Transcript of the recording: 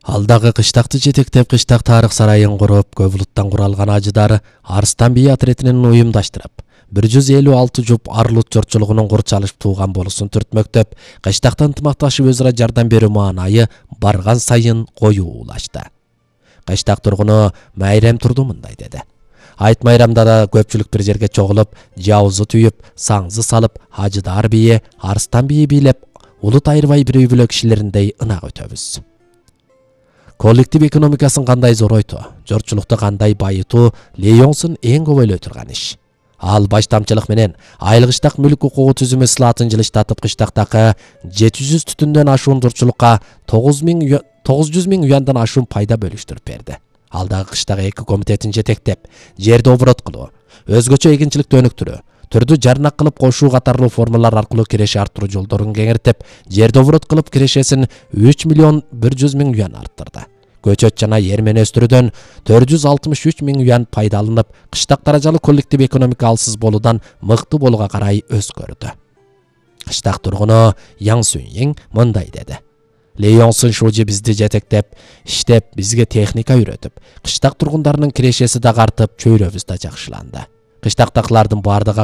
Алдагы кыштакты жетектеп кыштак тарых сарайын куруп, Көбүлуттан куралган ажыдар Арыстан бии отретинин уюмдаштырып, 156 жуп Арлут жортчулугунун курчалышып тууган болусун түртмөктөп, кыштакта ынтымакташып өзара жардам берүү маанайы барган сайын коюулашты. Кыштак тургуну Майрем Турду мындай деди. Айт майрамда да көпчүлүк бир жерге чогулуп, жаузу түйүп, саңзы салып, ажыдар бии, Арыстан бии бийлеп, улут айырбай бирөө-бирөө кишилериндей ынак өтөбүз. Коллектив экономикасын кандай зоройту, жортчулукту кандай байытуу Лейонсун эң көп ойлой турган иш. Ал баштамчылык менен айылгыштак мүлк укугу түзүмү ислатын жылыштатып кыштактагы 700 түтүндөн ашуун жортчулукка 900 миң уяндан ашуун пайда бөлүштүрүп берди. Алдагы кыштагы эки комитетин жетектеп, жерди оборот кылуу, өзгөчө эгинчиликти өнүктүрүү, түрдү жарнак кылып кошуу катарлуу формалар аркылуу киреше арттыруу жолдорун кеңиртип, жерди оборот кылып кирешесин 3 миллион 100 миң уян арттырды. Көчөт жана эрмен өстүрүүдөн 463 миң уян пайда алынып, кыштак даражалуу коллектив экономика алсыз болуудан мыкты болууга карай өзгөрдү. Кыштак тургуну Яң Сүньең мындай деди. Лейонсун шужи бизди жетектеп, иштеп, бизге техника үйрөтүп, кыштак тургундарынын кирешеси да артып, чөйрөбүз да жакшыланды. Кыштактакылардын бардыгы